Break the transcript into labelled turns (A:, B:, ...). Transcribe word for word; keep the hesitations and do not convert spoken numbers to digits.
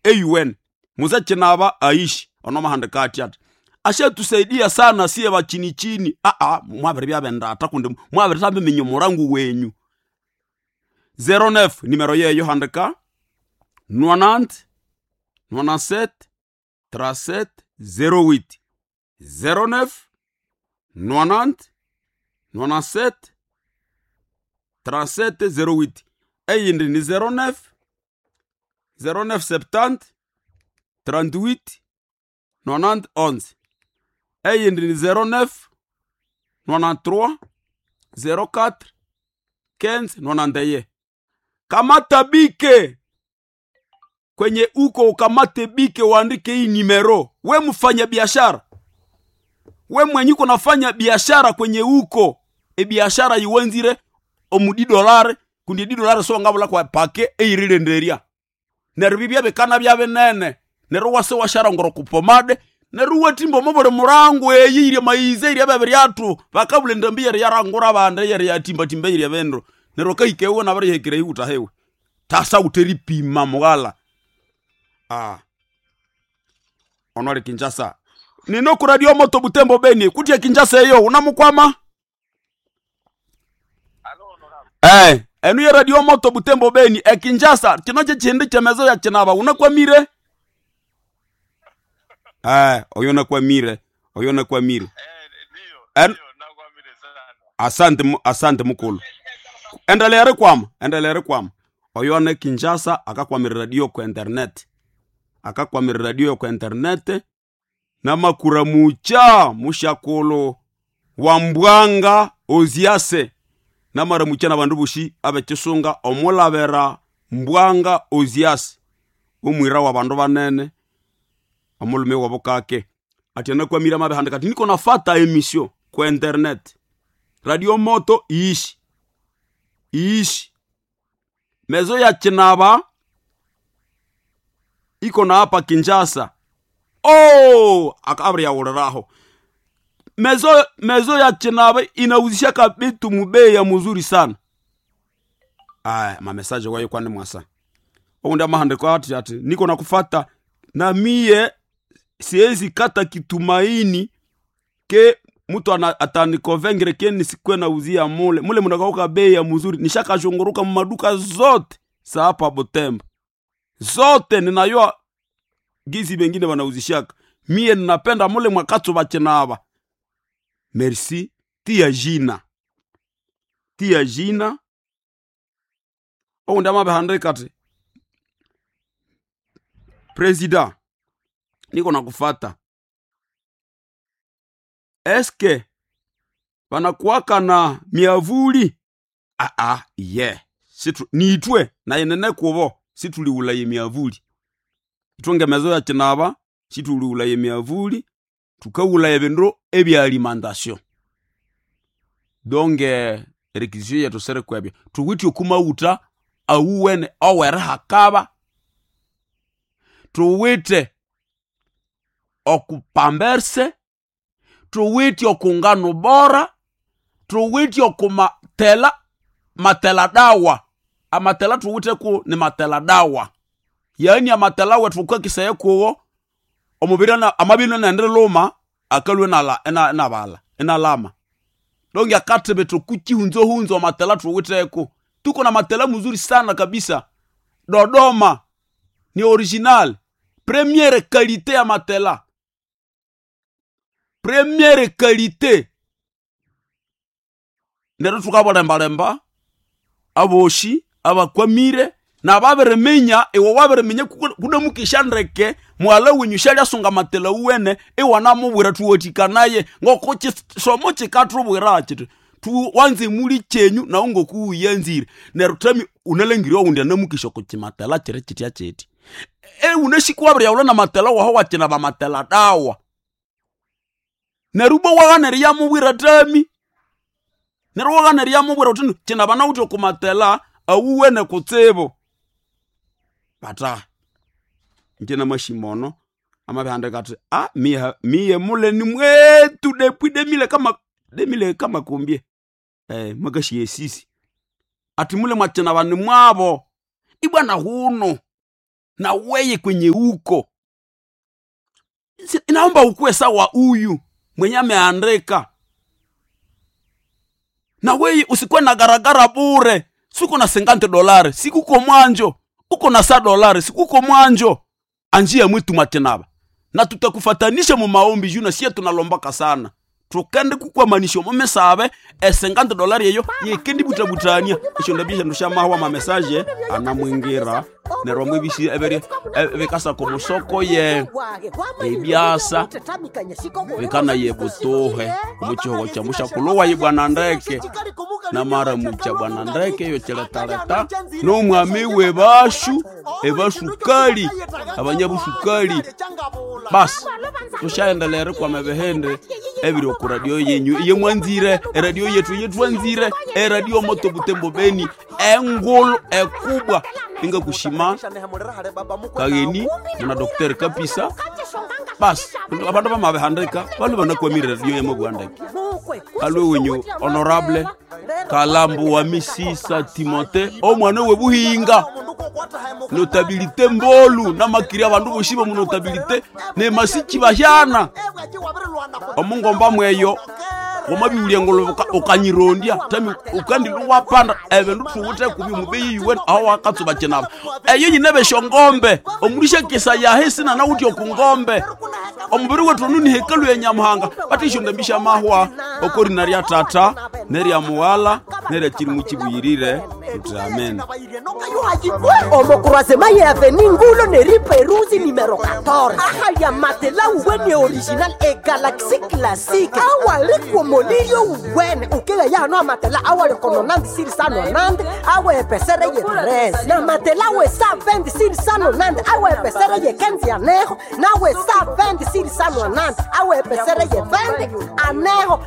A: eyuwene muze Chinaba aishi ono mahandika ati ati ashatusaidia sana siye bachini chini. Aa, mwabiri byabendata kundi mwabiri tabiminya omurangu wenyu. zero nine nimero yeyo handika nonante nonante-sept trente-sept zéro huit zéro neuf nonante nonante-sept trente-sept zéro huit. Eyindi ni zéro neuf zéro neuf septante trente-huit nonante onze. Eyindi ni zéro neuf nonante-trois zéro quatre quinze nonante et un. Kamata bike kwenye uko, ukamate bike uandike hii nimero. We mfanya biashara, we mwenye uko nafanya biashara kwenye uko e biashara iwenzire omudi dolare kundi di dolare so ngabula kwa pake eirilenderia neryo bibya bikana bya binene neryo wase washara ngoro kupomade neryo watimba omobuli murango eyi irya maize irya bebiryatu bakabula endambi yeri yarangura bande yeri yatimbatimba irya bindu neryo kahikewe nabarihekire iwuta hewe tasa uteripima mughala. Ah, ono ali Kinshasa nino ku Radio Moto Butembo Beni kutia Kinshasa eyo unamukwama. Eh, enu ye Radio Moto Butembo Beni e Kinshasa kino kyekindi kyemezo ya Chinaba unakwamire. Eh, oyo nakwamire, oyo nakwamire.
B: Eh, ndio,
A: En-
B: ndio, nakwamire sana.
A: Asante mu- asante mukulu. Endelea rikwama, endelea rikwama. Oyo ne Kinshasa akakwamira radio ku internet. Akakwamira radio ku internet namakura mucha mushakolo wa mbwanga oziase namara mucha na bandu bushi abekisunga omulabera mbwanga oziase omwira wa bandu banene omulume wabo kake ati anakwamira mabehandika ati niko nafata emission ku internet Radio Moto iishi iishi mezo ya Chinaba iko na hapa Kinshasa. Oh, akabri ya uliraho mezo mezo ya Chinaba inauzishaka bitu mubei ya muzuri sana. Aya, mamesaje wayo kwani mwasa oundi amahandiko ati ati niko nakufata na mie siwezi kata kitumaini ke mtu ana- atanikonvengere ke nisikwe nauzia mule mule munakauka bei ya muzuri nishakashunguruka mumaduka zote sa hapa Butembo zote ninayoa gizi bengine wanauzishaka mie ninapenda mule mwakatso bachinaba merci tia jina tia jina oundi amabehandika ati president niko nakufata eske banakuwaka na miavuli aa ye situ niitwe nayenene kubo situliulaye miavuli itwe ngemezo ya Chinaba situliulaye miavuli tukaulaye bindu ebya alimentation donge requisition yetu sere kwebyo tuwitye okumauta awuwene owere hakaba tuwite okupamberse tuwitye okungano bora tuwitye okumatela matela dawa amatela tuwite ku ni matela dawa yaani amatela wetu ukakisaya kuwo omubiri ana- amabiri nende luma akalwe nala ena nabala enalama donge akatebe tukuchihunzohunzo amatela tuwiteko tuko na matela mzuri sana kabisa Dodoma ni original première qualité ya matela première qualité neryo tukabalembalemba aboshi abakwamire nababiriminya iwe wabiriminya kunamukisha ndeke mwala wenyu shalyasunga matela uwene iwanamubwira tuwatikanaye ngoko chisomo chikatubwira chiti tu wanze muli chenyu nawo ngokuuyanzire neryo tami unalangiriwa undi anamukisha kuchimatela chiri chitya chiti e unashikuwabiryaula na matela waho wachina bamatela dawa neryo ubwo waganeri yamubwira tami neryo waganeri yamubwira uti china bana uti okumatela awuwene kutsibu bata nje mashimono amabihandika ati a miye miye mule ni mwetu depui demile kama demile kama kumbie eh makashiye sisi ati mule mwachina bani mwabo ibwana huno Na weye kwenye uko Si- inaomba ukuwe sawa huyu mwenye ameandika. Na weye usikuwe na garagara bure. Siko na sengante dolari sikuko mwanjo, uko na sa dolari sikuko mwanjo anjia mwitu matinaba na tutakufatanisha mu maombi juu na sie tunalombaka sana tukende kukwamanisha mumisabe esengante dolari eyo yekendi butabutania esyo ndabia shandu shamahwa mamesaje anamwingira neryo mwebisi ebere ebikasa musoko ye ebyasa
C: vikana ye butuhe
A: omuchihogo kya mushakulhuwa ye bwana ndeke namara mucha bwana ndeke yo chiletaleta n'omwami w'ebashu ebasukali abanyabusukali basi tushaendelere kwama ebihindi ebiri oku radio yenyu iye mwanzire eradio yetu yetwanzire eradio moto butembo beni engulu ekubwa ingakushima kageni muna dokter kapisa basi abandu bamabihandika balu banakwamire radio yamabwandeke alwe wenyu honorable kalambu wa misisa timote omwana we buhinga notabilite mbolu namakiri abandu bosi bomu notabilite nemasiki bahyana omungomba mweyo wamabiwulya ngolo ukanyirondya tami ukandi wapanda ebindu thuwithe kubi mubeyi yuwe aho wakatsuba kinaba eyo nyine beshongombe omulisha kisa yahe sinanawuthi okungombe omubiri wethu onu ni hekalu ya nyamuhanga batisho ndambisha mahwa okorina rya tata nerya muwala nerya kirimu kibuyirire tuti amen.
D: Omokurasema ye aveni ngulo neriperuzi nimero quatorze ahalya matela uwene original e galaxy classique awalikuomolilyo uwene ukila yano amatela awalikononandi sirisanonandi awe epesere ye treze na matela we sa venti sirisanonandi awe epesere ye kenzi aneho nawe sa venti sirisanonandi awe epesere ye venti aneho.